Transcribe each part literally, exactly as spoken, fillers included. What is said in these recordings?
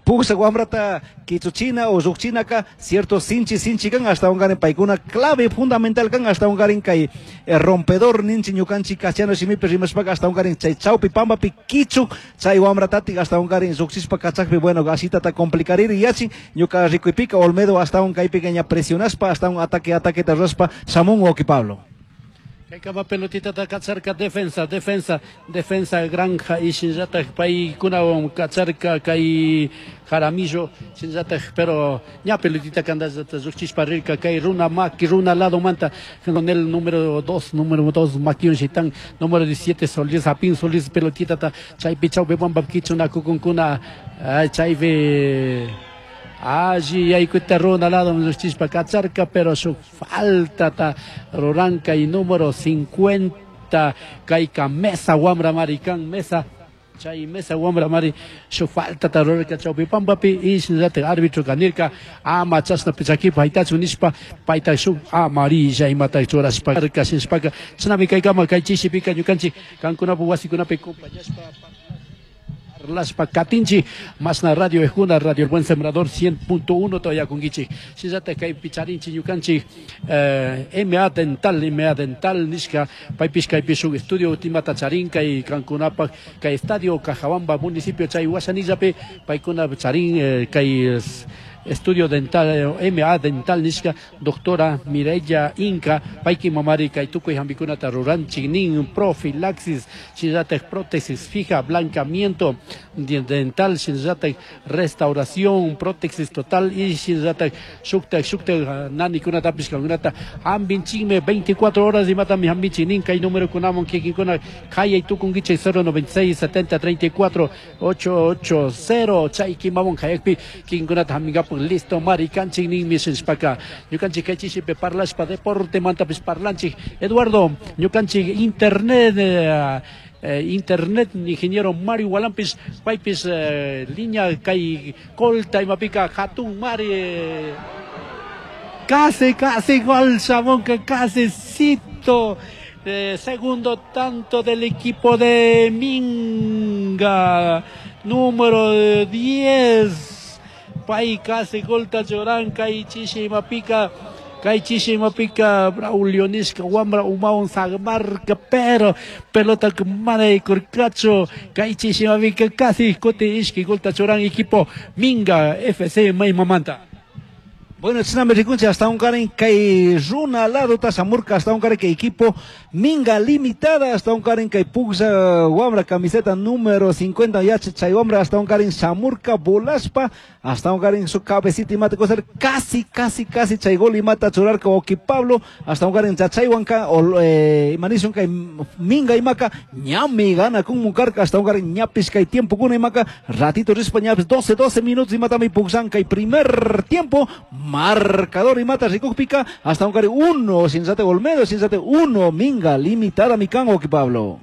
Pugsa wamrata kichuchina o llukchinaka cierto sinchi sinchi kan ashtawankarin paykuna clave fundamental kan ashtawankarin kay eh, rompedor ninchi ñukanchik castellano shimipi rimashpaka ashtawankarin chay chawpi pampapi kichuk chay wamratatik ashtawankarin llukchishpa kachakpi, bueno, ashitata complicariri yachin. Ñuka rikuypika Olmedo ashtawan kaypika ña presionashpa, ashtawan ataque ataqueta rurashpa shamun, wawki Pablo. Kaykama pelotita kacharka defensa, defensa, defensa Granja y shinllatak paykunawan kacharka kay Jaramillo, shinllatak, pero ña pelotita kandallata llukchishpa rirka kay runa maki runa lado manta con el número dos, número dos Makion Shitan, número diecisiete Solís Apin Solís pelotita ta chaypi chawpi pampa kichunakukunkuna, chaypi alli yaykuta runa lado llukchishpa kacharka, pero su falta ta ruranka y número cincuenta kayka Mesa wambra marikan Mesa chay Mesa wambra mari su falta ta rurarka chawpi pampapi y shinallatak árbitro kanirka ama chashna chakipa haytachun nishpa payta shuk amarilla imata churashpa shinashpaka chashnami kaykama kay chishipika ñukanchik kankunapak wasikunapi acompañashpa parlashpa katinchik masna radio ejuna Radio El Buen Sembrador cien punto uno todavía kunkichik. Shinallatak kaypi charinchik ñukanchik eh, M A Dental, M A Dental nishka paypish kaypi shuk estudio timata charin kay kankunapak kay estadio Cajabamba municipio chay wasanillapi paykuna charin eh, kay estudio dental M A Dental nishka doctora Mireya Inca payki mamari kay tukuy hampikunata ruranchik nin profilaxis, shinallatak prótesis fija, blancamiento dental, shinallatak restauración, prótesis total y shinallatak shuktak shuktak nanikunatapish kankunata hampinchikmi veinticuatro horas imatami hampinchik nin. Kay número kunaman kikinkuna kayay tukunkichik cero noventa y seis setenta treinta y cuatro ocho ocho cero chay kimawan kayakpi kikinkunata hampinkapak listo mari kanchik ninmi shinshpaka ñukanchik kay chishipi parlashpa deporte mantapish parlanchik. Eduardo, ñukanchik internet eh, eh, internet ingeniero Mario Walampis paypis eh, línea kay Colta imapika hatun mari eh, casi casi gol shamunka casi cito eh, segundo tanto del equipo de Minga, número diez pay casi golta churan kay chishi imapika kay chishi imapika Braulio nishka wambra umawan sagmarka, pero pelota mana yaykurkachu. Kay chishi imapika casi kuti ishki golta churan equipo Minga F C maymamanta. Bueno, chashnami rikunchik ashtawankarin kay runa lado shamurka ashtawankarin kay equipo Minga Limitada, ashtawankarin kay puglla wambra camiseta número cincuenta yacha chay wambra ashtawankarin shamurka volashpa ashtawankarin su cabecita imata cosa casi casi casi chay gol imata churarka wawki Pablo. Ashtawankarin chachaywanka eh, imanishun kay Minga imaka ñami gana kun karka ashtawankarin ñapish kay tiempo kuna imaka ratito rishpa ñapis doce doce minutos imatami pugllan kay primer tiempo. Marcador imata rikukpika ashtawankarin uno Sinsate Olmedo, Sinsate uno Minga Limitada mikan, wawki Pablo.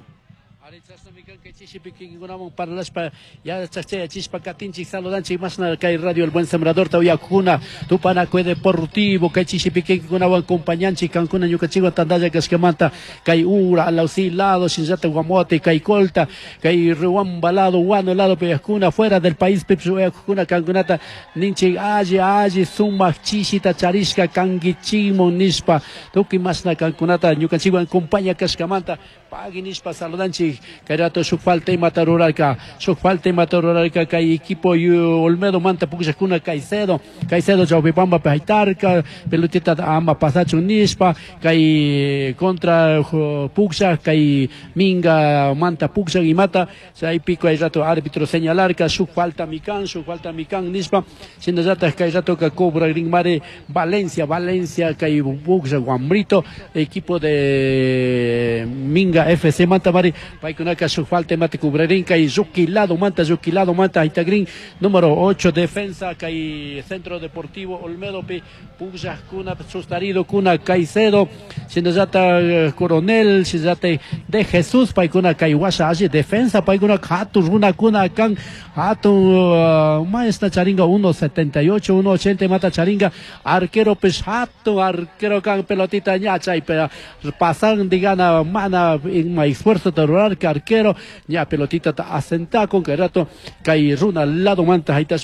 Chishipi kikinkunaman parlashpa yachachayachishpa katinchik saludanchik mashna kay Radio El Buen Sembrador tawiyakuna Tupanacuy Deportivo kay chishipi kikinkunawan compañanchik kankuna ñukanchikwan tantalla kashkamanta kay ura Alausi lado shinallata Guamote kay Colta kay Riobamba lado, Huano lado payakuna fuera del país pipish uyakuna kankunata ninchik alli alli sumak chishita charishka kankichikmun nishpa tukuy mashna kankunata ñukanchikwan compaña kashkamanta pagui nishpa saludanchik. Kay rato shuk falta imata rurarka shuk falta imata rurarka kay equipo Olmedo manta pukllakuna Caicedo Caicedo chawpipampa haytarka pelotita ama pasachun nishpa kay contra puklla kay Minga manta puklla imata chaypi kay rato árbitro señalarka shuk falta mikan shuk falta mikan nishpa. Shinallatak kay rato ka cobra mare Valencia Valencia kay puklla wambrito equipo de Minga F C manta mari paykunaka shuk falta imata cubrarin kay Yuki lado manta Yuki lado manta haytagrin número ocho defensa kay Centro Deportivo Olmedo pi pukllakuna sustarido kuna Caicedo shinallata Coronel shinallata de Jesús paykuna kay washa alli defensa paykuna hatun runakuna kan hatun uh, maestra charinga uno setenta y ocho uno ochenta mata charinga arquero pish hatun arquero kan pelotita ña chaypi pasan digana mana ima esfuerzo de rurar arquero ña pelotita asentakun kay rato kay runa lado manta haytashpa.